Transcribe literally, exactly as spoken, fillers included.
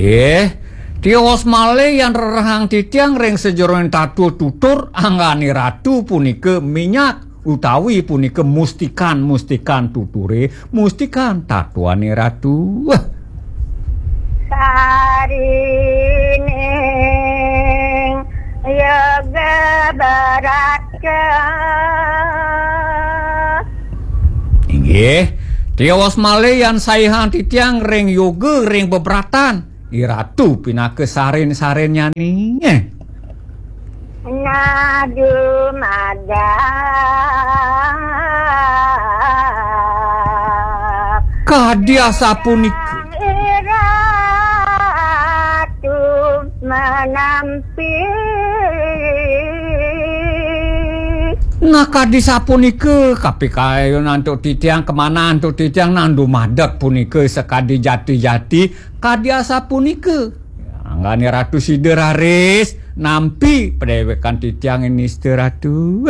Nggih, tios malih yan rerehang titiang ring sajeroning tatua tutur, anggane ratu punika minyak utawi punika mustikan-mustikan tuture, mustikan tatuane ratu. Sarining yoga baratka. Inggih, tios malih yan saihang titiang ring yoga, ring bebratan. Iratu pinaka sarin-sarinnyane. Nadu magang. Kadi asapunika. Iratu manampi. Nah, kadi sapunika, kapikayun antuk titiang, kemana antuk titiang nandu madeg punika sakadi jati-jati, kadi asapunika. Anggane Ratu sida raris nampi padewekan titiang ini, Ida Ratu.